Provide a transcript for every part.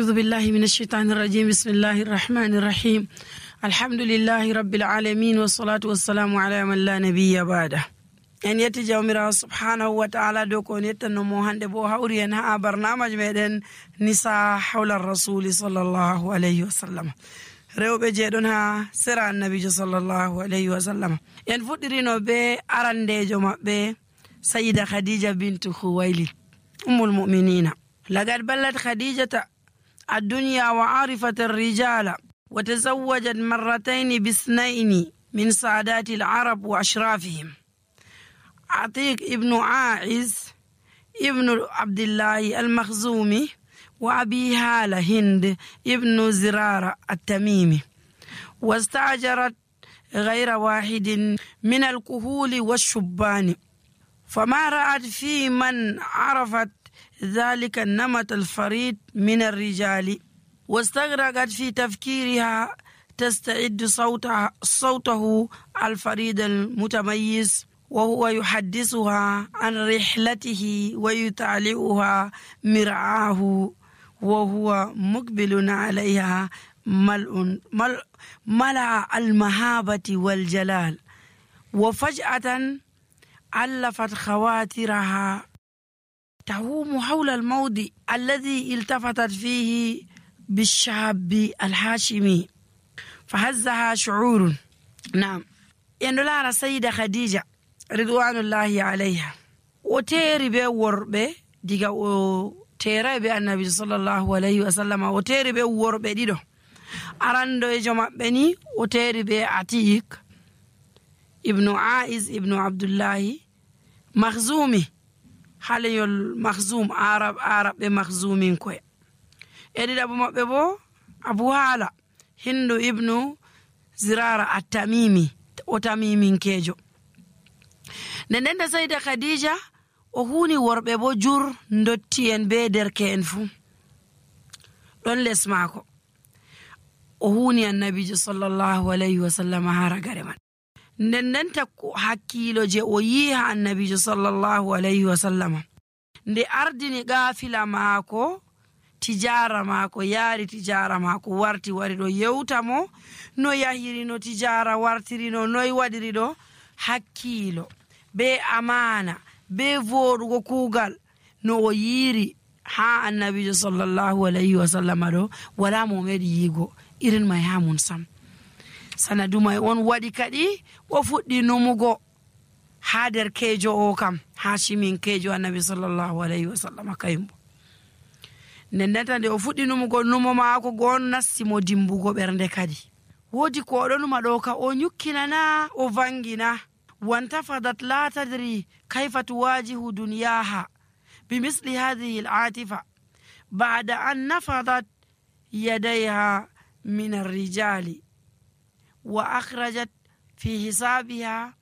أعوذ بالله من الشيطان الرجيم. بسم الله الرحمن الرحيم. الحمد لله رب العالمين والصلاة والسلام على من لا نبي بعده. en yetti jawmirawo subhanahu wa ta'ala dow ko on yettannomo hande bo hawri en ha barnamaj meɗen nisa hawla rasuli sallallahu alayhi wa sallam, rewɓe jeeɗon ha sera annabijo sallallahu alayhi wa sallam. en fuɗɗirino be arandejo maɓɓe sayida khadija bintu khuwaylid ummul mu'minina. لقد بلت خديجة الدنيا وعرفت الرجال وتزوجت مرتين باثنين من سادات العرب وأشرافهم، عتيق ابن عائز ابن عبد الله المخزومي، وأبي هالة هند ابن زرارة التميمي، واستأجرت غير واحد من الكهول والشبان، فما رأت في من عرفت ذلك النمط الفريد من الرجال، واستغرقت في تفكيرها تستعد صوته الفريد المتميز، وهو يحدثها عن رحلته ويتعلئها مرعاه وهو مقبل عليها ملأ المهابة والجلال. وفجأة ألفت خواترها تهوم حول الموضع الذي التفتت فيه بالشاب الهاشمي فهزها شعور. نعم، يندلار السيدة خديجة رضوان الله عليها وتيري بي وربي ديغا تيري بي النبي صلى الله عليه وسلم وتيري بي وربي ديدو أراندو يجمع بني وتيري بي عتيق ابن عائز ابن عبد الله مخزومي haleyol makhzum arab be makhzumin koy edidabo mabbe bo abu hala hindu ibnu zirara at-tamimi o tamimin kejo. Nden da sayda khadija o huni worbe bo jur ndotti en be derke en fu don les mako o huni annabi sallallahu alayhi wa sallam haragare man. nden takko hakkilo je o yiha annabijo sallallahu alayhi wa sallam nde ardini gafila maako tijara maako yaari tijara maako warti wari do yewtamo no yahiri no tijara wartiri no noy wadiri do hakkilo be amana be vodugo kugal no o yiri ha annabijo sallallahu alayhi wa sallam do wala mo medi yigo irin may ha mun sam. sanadumay on wadi kadi o fuddi numugo ha der kejo o kam hashimin kejo annabi sallallahu alayhi wa sallam kayimbo. nendata nde o fuddi numugo numo maako gon nassimo dimbugo bernde kadi wodi ko do numa do ka o nyukkinana o vangina wantafadat la tadri kayfa tuwajihu dunyaha bimisli hadhihi al'atifa ba'da an nafadat yadayha min ar-rijali وأخرجت في حسابها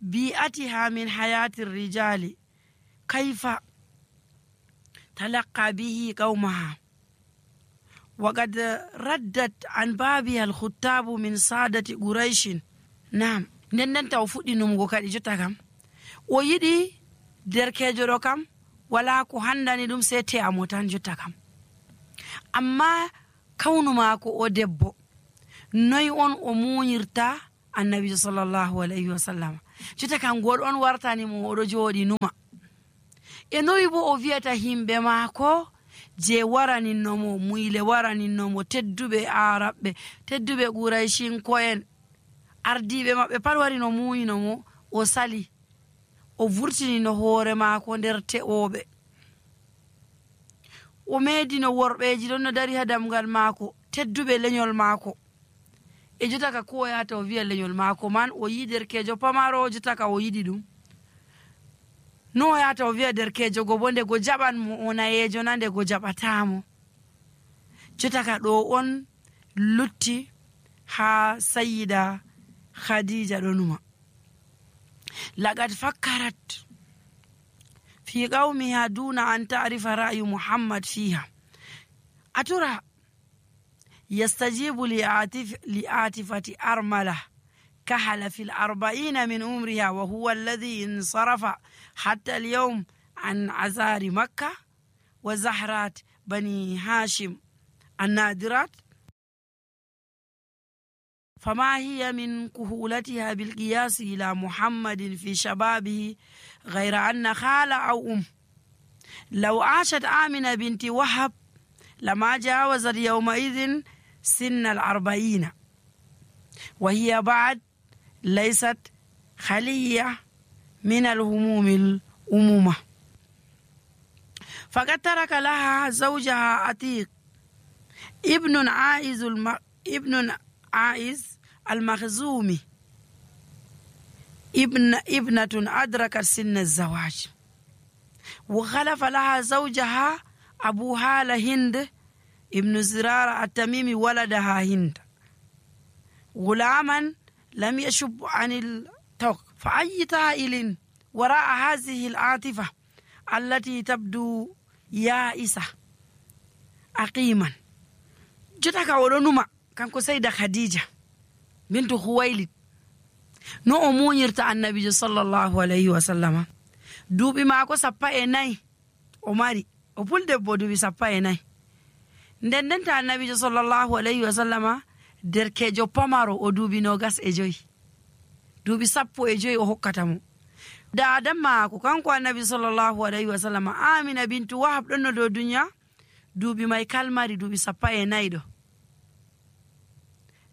بيئتها من حياة الرجال كيف تلقى به قومها، وقد ردت عن بابها الخطاب من سادة قريش. نعم، نندن توفودي نمغو كادي جوتا كام o yiɗi derkejo ɗo kam wala ko handani ɗum sai te amotan jotta kam, amma kawnu maako o debbo noy on o muñirta annabi sallallahu alayhi wa sallam jotta kan gol on wartani mo oɗo jooɗi numa e noy bo o wiyata himɓe maako je waraninnomo muyle waraninnomo tedduɓe araɓɓe tedduɓe qurayshinko'en ardiɓe maɓɓe pat wari no muyinomo o sali o vurtini no hoore maako nder te'oɓe o meedino worɓeji ɗon no dari ha damgal maako tedduɓe lenyol maako e jotaka ko yata o wiya lenyol maako man o yi derkejo pamaro jotaka o yiɗi ɗum no yata o wiya derkejo go bo nde go jaɓan mo o nayejo na nde go jaɓatamo jotaka ɗo on lutti ha sayida khadija ɗo numa. لقد فكرت في قومها دون أن تعرف رأي محمد فيها أترى يستجيب لعاطفة أرملة كحل في 40 من عمرها وهو الذي انصرف حتى اليوم عن عزار مكة وزهرات بني هاشم النادرات فما هي من كهولتها بالقياس إلى محمد في شبابه غير أن خالة أو أم. لو عاشت آمنة بنت وهب لما جاوزت يومئذ سن 40، وهي بعد ليست خلية من الهموم الأمومة، فقد ترك لها زوجها عتيق ابن عائز المخزومي ابنة أدركت سن الزواج، وخلف لها زوجها أبو هالة هند ابن زرارة التميمي ولدها هند غلاما لم يشب عن التوق. فأي طائل وراء هذه العاطفة التي تبدو يائسة أقيما جتك ولنما كانكو سيدة خديجة بنت خويلد no o muñirta annabijo sallallahu alayhi wa sallama. Duuɓi maako 14 o mari, o puldebbo duuɓi 14. nden ndenta annabijo sallallahu alayhi wa sallama derkejo pamaro o duuɓi 25. duuɓi 15 o hokkata mo. daada maako kanko annabi sallallahu alayhi wa sallama Amina bintu Wahab ɗon no dow duniya, duuɓi may kalmari duuɓi 14 ɗo.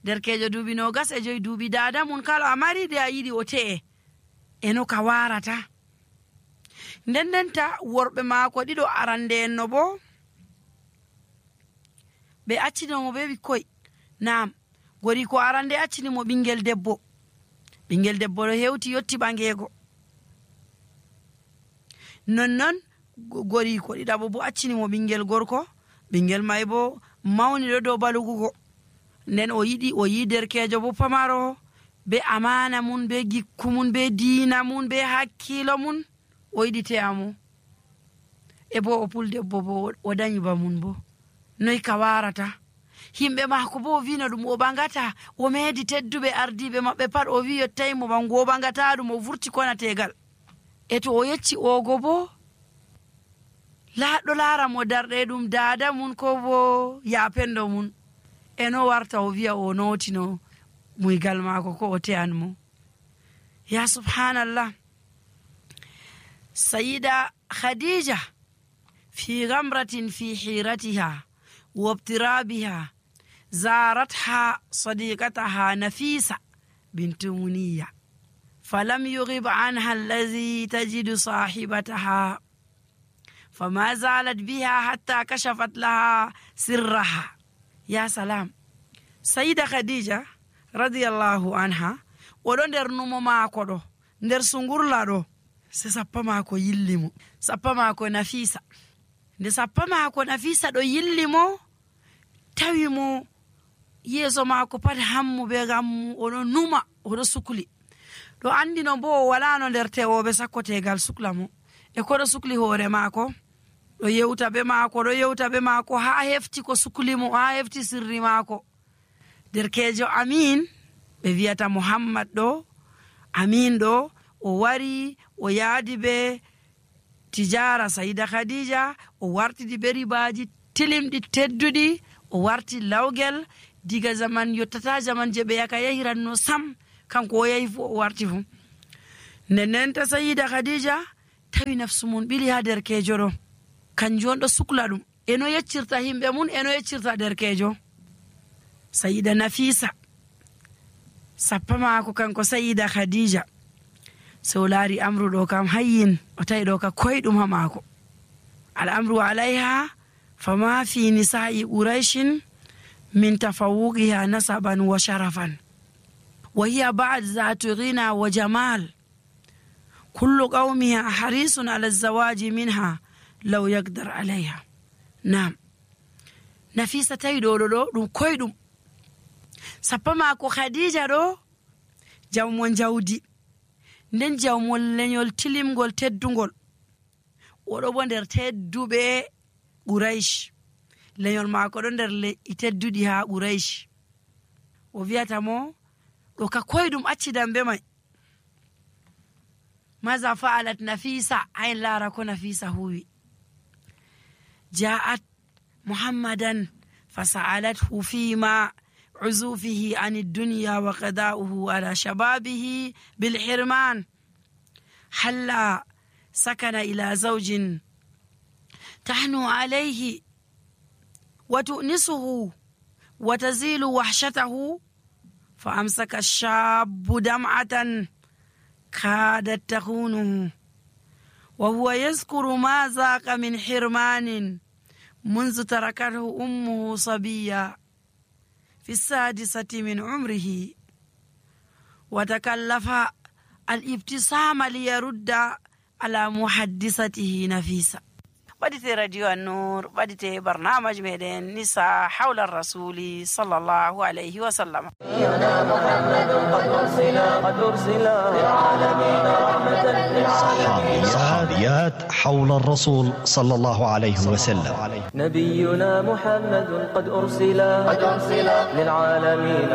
derkejo duuɓi 25 duuɓi daada mun kala amari de a yiɗi o te'e eno ka warata. ndendenta worɓe maako ɗiɗo arande en no bo ɓe accinomo be ɓikkoy. Naam, gori ko arande accinimo ɓingel debbo ɗo hewti yotti ɓangeego. nonnon gori ko ɗiɗaɓo bo accinimo ɓingel gorko, ɓingel may bo mawni ɗo dow balugugo. nden o yi derkejo bo pamaro be amana mun be gikku mun be diina mun be hakkilo mun o yiɗi te'amo e bo o puldebbo bo o dañi ba mun bo noy ka warata. himɓe maako bo o wino ɗum o ɓangata, o meedi tedduɓe ardiɓe maɓɓe pat o wi yottaymo ɓangu o ɓangata ɗum, o vurti konategal. e to o yecci ogo bo ɗo laara mo darɗe ɗum daada mun ko bo yapendo mun, eno warta o wiya o notino muygal maako ko o te'an mo. ya subhanallah. sayida khadija fi ghamratin fi hiratiha وابترابها زارتها صديقتها نفيسة بنت منية فلم يغب عنها الذي تجد صاحبتها، فما زالت بها حتى كشفت لها سرها. يا سلام. سيدة خديجة رضي الله عنها oɗo nder numo maako ɗo nder sungurla ɗo se sappa maako yillimo, sappa maako Nafisa. nde sappa maako Nafisa ɗo yillimo tawi mo yeeso maako pat hammu be gammu, oɗo numa, oɗo sukli. ɗo andino bo o walano nder tewoɓe sakkotegal sukla mo, e koɗo sukli hoore maako ɗo yewta be maako ha hefti ko sukli mo, ha hefti sirri maako. derkejo Amin ɓe wiyata Muhammad ɗo, Amin ɗo o wari o yaadi be tijara sayida khadija, o wartidi be ribaji tilimɗi tedduɗi, o warti lawgel diga zaman yottata zaman je ɓe yaka yahiranno sam, kanko o yahi fu o warti fu. ndennenta sayida khadija tawi nafsu mun ɓili ha derkejo ɗo, kanjum on ɗo sukla ɗum, eno yeccirta himɓe mun, eno yeccirta derkejo. sayida Nafisa sappa maako kanko sayida khadija so laari amru ɗo kam hayyin, o tawi ɗo ka koyɗum ha maako. al'amru alayha fama fi nisa'i quraishin min tafawuqiha nasaban wa sharafan wa hiya ba'd zatu ghina wa jamal kullu qaumiha harisun ala zawaji minha law yaqdar alayha. Naam, Nafisa tawi ɗo ɗum koyɗum. sappa maako khadija ɗo jawmon jawdi, nden jawmon lenyol tilimgol teddugol, oɗo bo nder tedduɓe Quraish. lenyol maako ɗo nder le'i tedduɗi ha Quraish. o wiyata mo ɗo ka koyɗum acci dambe may. maza fa'alat Nafisa, ayn laara ko Nafisa huwi. ja'at Muhammadan فسألته فيما عزوفه عن الدنيا وقضاؤه على شبابه بالحرمان هلا سكن إلى زوج تحنو عليه وتؤنسه وتزيل وحشته، فأمسك الشاب دمعة كادت تخونه وهو يذكر ما ذاق من حرمان منذ تركته أمه صبيا في 6 من عمره، وتكلف الابتسام ليرد على محدثته نفيسة. بديت راديو النور، بديت برنامج ميدان نساء حول الرسول صلى الله عليه وسلم. نبينا محمد قد أرسل للعالمين رحمة للعالمين. صحابيات حول الرسول صلى الله عليه وسلم. نبينا محمد قد أرسل للعالمين